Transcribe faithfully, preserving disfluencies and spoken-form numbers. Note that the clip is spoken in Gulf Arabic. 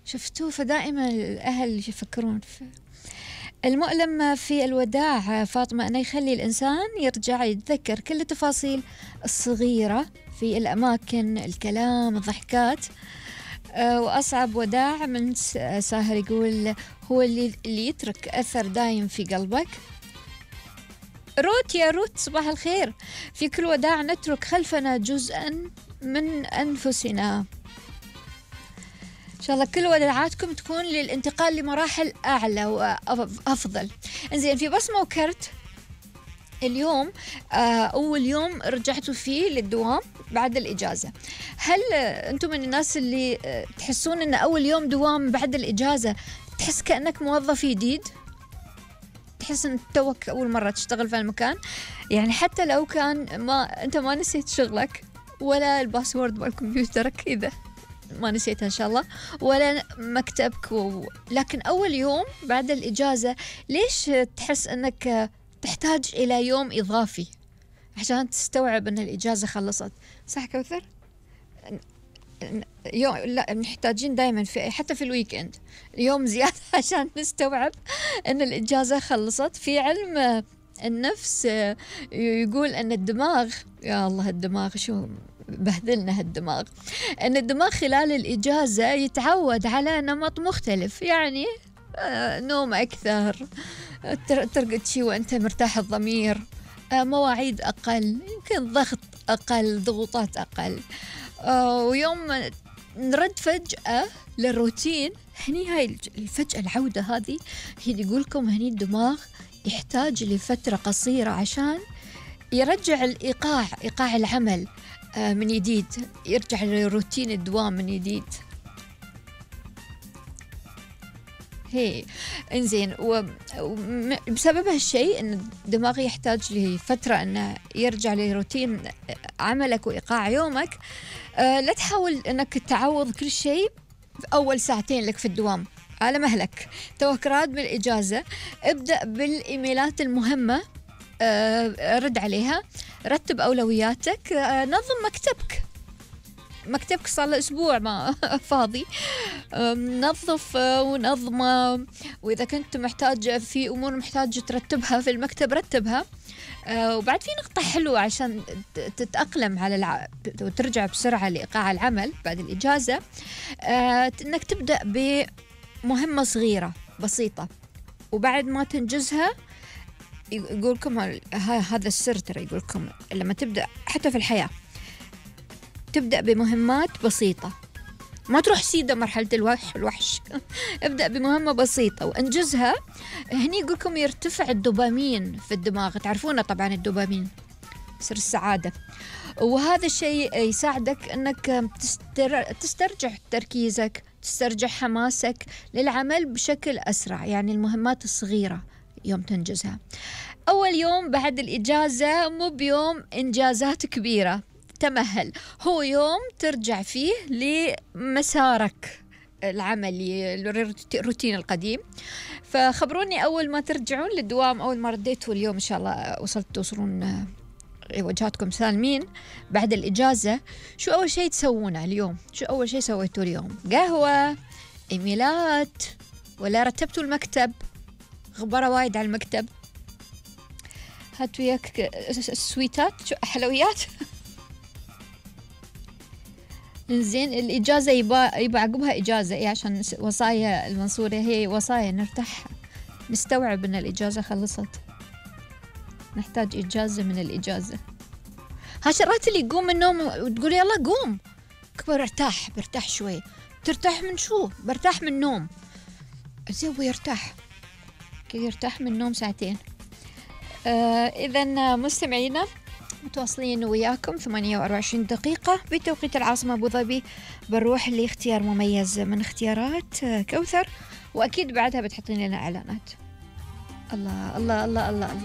شفتوه؟ فدائما الأهل يفكرون في المؤلم في الوداع فاطمة، أنه يخلي الإنسان يرجع يتذكر كل التفاصيل الصغيرة في الأماكن، الكلام، الضحكات. أه وأصعب وداع من ساهر يقول هو اللي, اللي يترك أثر دايم في قلبك. روت يا روت صباح الخير. في كل وداع نترك خلفنا جزءا من أنفسنا. إن شاء الله كل وداعاتكم تكون للانتقال لمراحل أعلى وأفضل. إنزين، في بصمة وكرت اليوم أول يوم رجعتوا فيه للدوام بعد الإجازة. هل أنتم من الناس اللي تحسون أن أول يوم دوام بعد الإجازة تحس كأنك موظف جديد؟ تحس أن توك أول مرة تشتغل في المكان؟ يعني حتى لو كان ما أنت ما نسيت شغلك ولا الباسورد بالكمبيوترك إذا ما نسيتها إن شاء الله، ولا مكتبك و... لكن أول يوم بعد الإجازة ليش تحس أنك تحتاج إلى يوم إضافي عشان تستوعب أن الإجازة خلصت؟ صح كوثر؟ يوم لا، محتاجين دائما في حتى في الويكند يوم زيادة عشان نستوعب أن الإجازة خلصت. في علم النفس يقول أن الدماغ، يا الله الدماغ شو بهذلنا هالدماغ، أن الدماغ خلال الإجازة يتعود على نمط مختلف، يعني نوم أكثر، ترقد شي وأنت مرتاح الضمير، مواعيد أقل، يمكن ضغط أقل، ضغوطات أقل. ويوم نرد فجأة للروتين، هني هاي الفجأة العودة هذه هي اللي يقولكم هني الدماغ يحتاج لفترة قصيرة عشان يرجع الإيقاع، إيقاع العمل من جديد، يرجع لروتين الدوام من جديد. هي انزين، وبسبب هالشيء ان الدماغ يحتاج لفترة انه يرجع لروتين عملك وايقاع يومك. أه لا تحاول انك تعوض كل شيء في اول ساعتين لك في الدوام على مهلك. توك راد بالاجازة، ابدأ بالايميلات المهمة، أه رد عليها، رتب اولوياتك، أه نظم مكتبك. مكتبك صار له أسبوع ما فاضي، نظف ونظمه، وإذا كنت محتاج في أمور محتاج ترتبها في المكتب رتبها. وبعد في نقطة حلوة عشان تتأقلم على الع... وترجع بسرعة لإيقاع العمل بعد الإجازة، إنك تبدأ بمهمة صغيرة بسيطة، وبعد ما تنجزها يقولكم هذا السر، ترى يقولكم لما تبدأ حتى في الحياة تبدأ بمهمات بسيطة، ما تروح سيدة مرحلة الوحش الوحش ابدأ بمهمة بسيطة وانجزها. هني يقولكم يرتفع الدوبامين في الدماغ، تعرفونه طبعا الدوبامين سر السعادة، وهذا الشيء يساعدك انك تستر... تسترجع تركيزك، تسترجع حماسك للعمل بشكل أسرع. يعني المهمات الصغيرة يوم تنجزها. أول يوم بعد الإجازة مو بيوم إنجازات كبيرة، تمهل، هو يوم ترجع فيه لمسارك العملي، الروتين القديم. فخبروني أول ما ترجعون للدوام، أول ما رديتوا اليوم إن شاء الله وصلت توصلون وجهاتكم سالمين بعد الإجازة، شو أول شيء تسوونه اليوم؟ شو أول شيء سويتوا اليوم؟ قهوة، إيميلات، ولا رتبتوا المكتب؟ غبرة وايد على المكتب. هاتوا وياك السويتات، شو حلويات. زين، الإجازة يبا يبا عقبها إجازة، إيه عشان وصايا المنصورة هي وصايا نرتاح، نستوعب إن الإجازة خلصت، نحتاج إجازة من الإجازة. هالشرات اللي يقوم من النوم وتقول يلا قوم كبر ارتاح، برتاح شوي. ترتاح من شو؟ برتاح من النوم. زين ويرتاح كي يرتاح من النوم ساعتين. آه إذن مستمعينا متواصلين وياكم ثمانية وأربعة وعشرين دقيقة بتوقيت العاصمة أبو ظبي، بنروح لاختيار مميز من اختيارات كوثر، وأكيد بعدها بتحطين لنا إعلانات. الله الله الله الله الله.